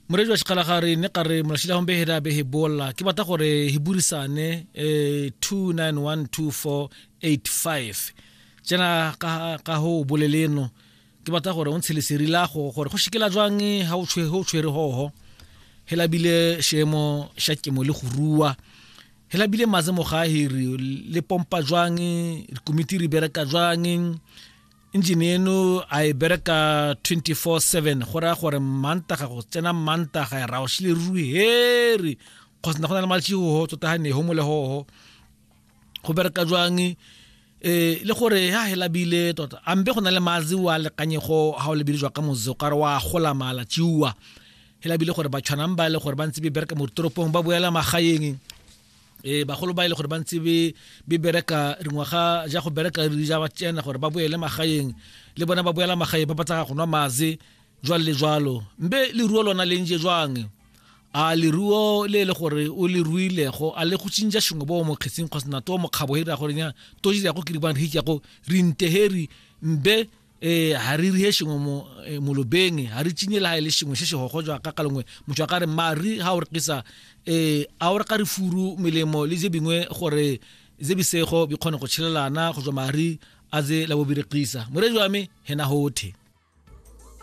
Moredi wa Sekgalagare ne ka re molašila gombe hela be he bolla ke batla gore he burisane 2912485 tsena ka ho boleleno ke batla gore o ntshe leseri la go gore go shikela jwang ha o tshwere o tshwere hoho hela bile shemo sha kemo le go rua hela bile maze mo ga hiri le pompa jwang komiti re bereka jwang. Engine eno a e bereka 24/7, go raya gore Mantaga go tsena Mantaga ra o shile ruri heri kgotsa go na le malatsi ho tota ga ne ho mo le hoho go bereka jwang le gore ha hela bile tota a mbe go na le mazi wa lekanyego ha o lebile jwa ka motse o ka re wa gola malatsi wa hela bile gore ba tshwanang ba le gore ba ntse be bereka mo ditoropong ba boela magaeng. Bagolo ba ile gore ba ntse be be bereka dingwaga ja go bereka re ja ba tsena gore ba boele magaeng le bona ba boela magaeng ba batla go nwa maze jwalo le jwalo. Mbe leruo lona le nje jwang? A leruo le le gore o le ruilego a le go tšintša shengwe bo mo kgetsing kgotsa na to mokgabo he ra gore nya to dira go ke di bang re go re nteheri mbe ha re rihe shengwe mo molobeng ha re tšinye le ha e le shengwe se se gogo jwa ka kalengwe motho a ka re mari ha o rekisa a o re ka re furu melemo le je bingwe gore ze bisego bi kgone go tshelelana go jwa mari a ze la bo berekisa. Moredi wa me hena hothe.